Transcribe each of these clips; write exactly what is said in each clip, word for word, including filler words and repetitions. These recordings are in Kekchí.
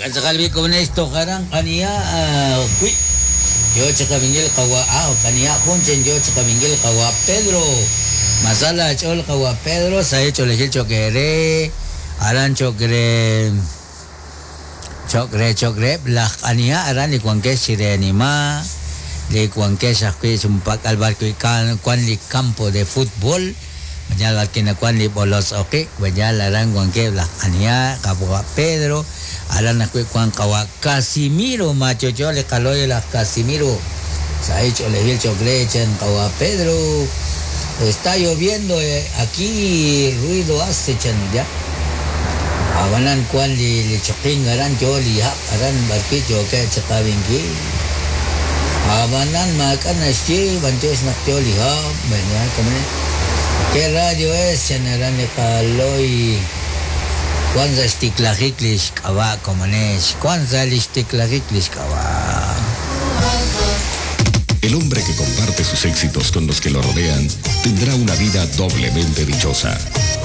Katzakal komonex tojaran qaniya wi yo chakabingil qawa ah qaniya junchen yo chakabingil qawa Pedro masala chol qawa Pedro sa hecho lejil chokere aran chokre chokre chokre la qaniya aran li kuankex chirenima li kuankex ajwi chumpak al barco y cuan li campo de fútbol mañana barquina cuan li bolos oki mañana aran kuanke la qaniya qawa Pedro aran ajwi kuan qawa Casimiro macho chole kaloy la Casimiro sa hecho lejil chokre chen qawa Pedro. Está lloviendo eh, aquí ruido hace chan ya. Abanan kuan li li choking aran yo li hap aran barki yo ke chakabinki. Abanan makan así bantes nak yo li hap bueno como ¿Qué radio es? Chan aran li kaloy Kwanza xtiklajik kawa como nes Kwanza lixtiklajik kawa. El hombre que comparte sus éxitos con los que lo rodean tendrá una vida doblemente dichosa.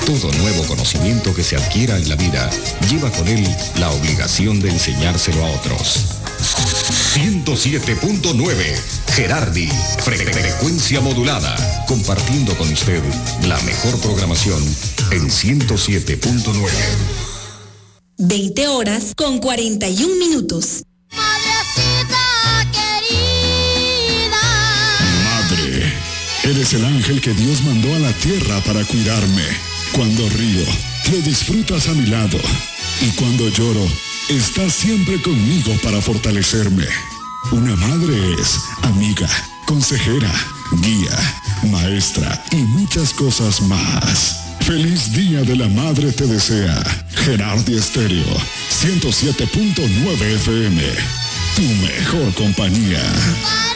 Todo nuevo conocimiento que se adquiera en la vida lleva con él la obligación de enseñárselo a otros. ciento siete punto nueve Gerardi, frecuencia modulada, compartiendo con usted la mejor programación en ciento siete punto nueve. veinte horas con cuarenta y un minutos. Madrecita querida. Madre, eres el ángel que Dios mandó a la tierra para cuidarme. Cuando río, lo disfrutas a mi lado. Y cuando lloro, estás siempre conmigo para fortalecerme. Una madre es amiga, consejera, guía, maestra y muchas cosas más. Feliz Día de la Madre te desea Gerardi Estéreo, ciento siete punto nueve F M, tu mejor compañía.